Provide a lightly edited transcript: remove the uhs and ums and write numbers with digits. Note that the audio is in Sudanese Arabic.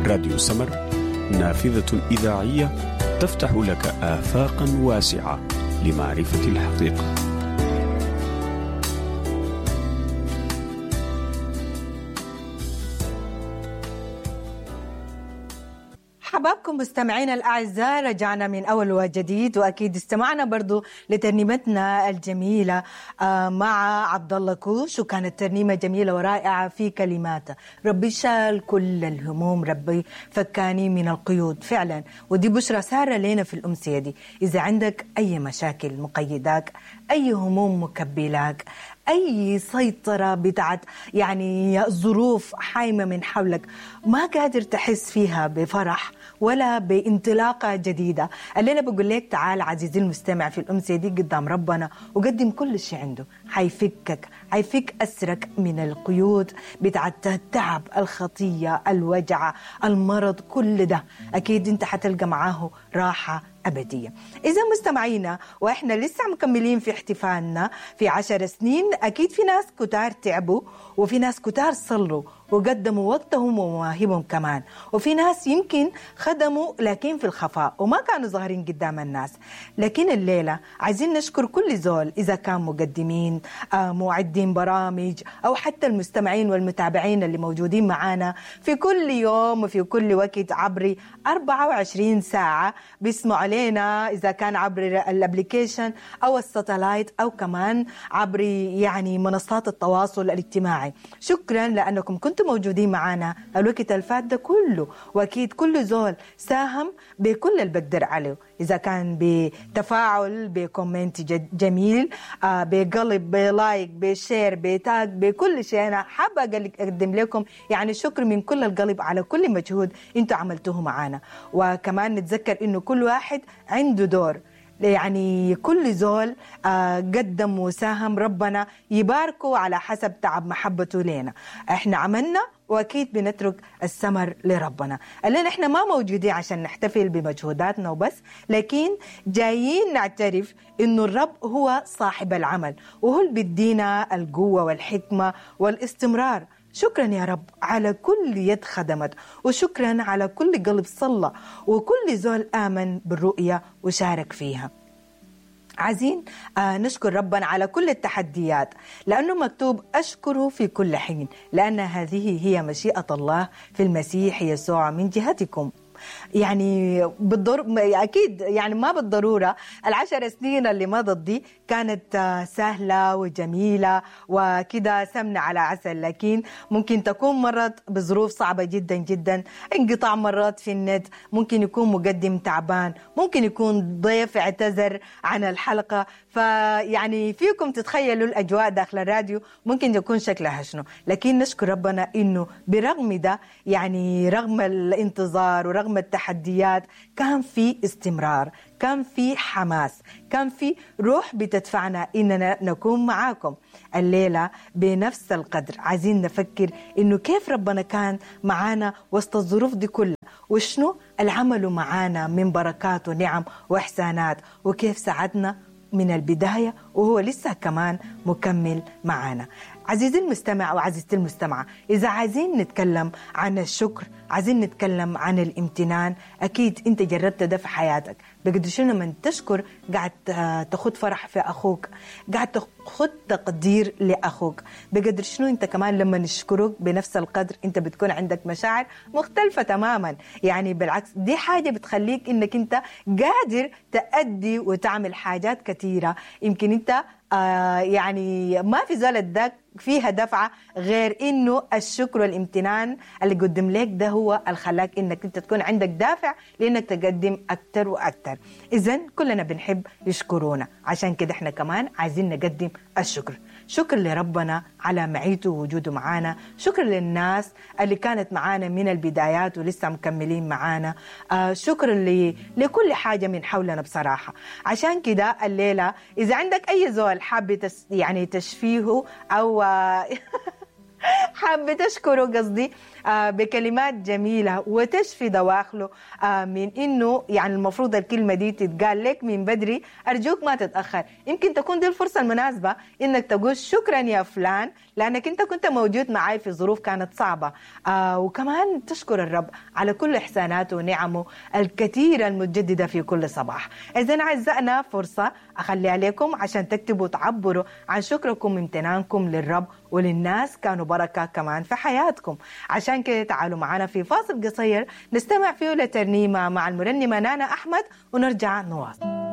راديو سمر، نافذة إذاعية تفتح لك آفاقا واسعة لمعرفة الحقيقة. حبابكم مستمعينا الأعزاء، رجعنا من أول وجديد، وأكيد استمعنا برضو لترنيمتنا الجميلة مع عبد الله كوش، وكانت ترنيمة جميلة ورائعة في كلماتها. ربي شال كل الهموم، ربي فكاني من القيود فعلا. ودي بشرى سارة لنا في الأمسية دي. إذا عندك أي مشاكل مقيداك، أي هموم مكبلاك، أي سيطرة بتاعت يعني ظروف حايمة من حولك ما قادر تحس فيها بفرح ولا بانطلاقة جديدة، الليلة بقول لك تعال عزيزي المستمع في الأمسية دي قدام ربنا وقدم كل شيء عنده. حيفكك، حيفك أسرك من القيود بتاعت التعب، الخطية، الوجع، المرض، كل ده أكيد أنت حتلقى معاه راحة أبدية. إذا مستمعينا، وإحنا لسه مكملين في احتفالنا في 10 سنين، أكيد في ناس كتار تعبوا، وفي ناس كتار صلوا وقدموا وقتهم ومواهبهم كمان، وفي ناس يمكن خدموا لكن في الخفاء وما كانوا ظاهرين قدام الناس. لكن الليلة عايزين نشكر كل زول، إذا كان مقدمين، معدين برامج، أو حتى المستمعين والمتابعين اللي موجودين معانا في كل يوم وفي كل وقت عبر 24 ساعة بيسمعوا علينا، إذا كان عبر ال application أو ال satellite أو كمان عبر يعني منصات التواصل الاجتماعي. شكرا لأنكم كنتم موجودين معانا الوقت الفات ده كله، وأكيد كل زول ساهم بكل اللي بقدر عليه، إذا كان بتفاعل، ب comment جميل، بقلب، ب like، ب share، ب tag، بكل شيء. أنا حابة أقدم لكم يعني شكر من كل القلب على كل مجهود أنتوا عملتوه معانا. وكمان نتذكر إنه كل واحد عنده دور، يعني كل زول قدم وساهم، ربنا يباركه على حسب تعب محبته لنا. احنا عملنا واكيد بنترك الثمر لربنا. الليلة احنا ما موجودين عشان نحتفل بمجهوداتنا وبس، لكن جايين نعترف انه الرب هو صاحب العمل، وهو اللي بيدينا القوة والحكمة والاستمرار. شكرا يا رب على كل يد خدمت، وشكرا على كل قلب صلى، وكل زول آمن بالرؤية وشارك فيها. عايزين نشكر ربنا على كل التحديات، لأنه مكتوب أشكره في كل حين، لأن هذه هي مشيئة الله في المسيح يسوع من جهتكم. يعني أكيد يعني ما بالضرورة 10 سنين اللي مضت دي كانت سهلة وجميلة وكده سمنة على عسل، لكن ممكن تكون مرت بظروف صعبة جدا جدا، انقطاع مرات في النت، ممكن يكون مقدم تعبان، ممكن يكون ضيف اعتذر عن الحلقة. فيعني فيكم تتخيلوا الأجواء داخل الراديو ممكن يكون شكلها شنو. لكن نشكر ربنا إنه برغم ده، يعني رغم الانتظار ورغم التحديات، كان في استمرار، كان في حماس، كان في روح بتدفعنا إننا نكون معاكم الليلة بنفس القدر. عايزين نفكر إنه كيف ربنا كان معانا وسط الظروف دي كلها، وشنو العمل معانا من بركات ونعم وإحسانات، وكيف ساعدنا من البداية وهو لسه كمان مكمل معانا. عزيزي المستمع وعزيزتي المستمعة، إذا عايزين نتكلم عن الشكر، عايزين نتكلم عن الامتنان، أكيد أنت جربت ده في حياتك. بقدر شنو من تشكر قاعد تاخد فرح في أخوك، قاعد تاخد تقدير لأخوك. بقدر شنو أنت كمان لما نشكرك بنفس القدر أنت بتكون عندك مشاعر مختلفة تماما. يعني بالعكس دي حاجة بتخليك أنك أنت قادر تأدي وتعمل حاجات كثيرة يمكن أنت يعني ما في زول اداك فيها دفعة غير إنه الشكر والامتنان اللي قدم لك ده هو اللي خلاك إنك أنت تكون عندك دافع لإنك تقدم أكتر وأكتر. إذن كلنا بنحب يشكرونا، عشان كده إحنا كمان عايزين نقدم الشكر. شكر لربنا على معيته ووجوده معانا، شكر للناس اللي كانت معانا من البدايات ولسه مكملين معانا، شكر لكل حاجة من حولنا بصراحة. عشان كده الليلة إذا عندك أي زول حابب يعني تشفيه أو حابة تشكره قصدي بكلمات جميلة وتشفي دواخله من إنه يعني المفروض الكلمة دي تتقال لك من بدري، أرجوك ما تتأخر. يمكن تكون دي الفرصة المناسبة إنك تقول شكرا يا فلان لأنك أنت كنت موجود معي في ظروف كانت صعبة، وكمان تشكر الرب على كل إحساناته ونعمه الكثيرة المتجددة في كل صباح. إذن أعزائنا فرصة أخليها لكم عشان تكتبوا وتعبروا عن شكركم وامتنانكم للرب وللناس كانوا بركة كمان في حياتكم. عشان كده تعالوا معنا في فاصل قصير نستمع فيه لترنيمة مع المرنمة نانا أحمد ونرجع نواصل.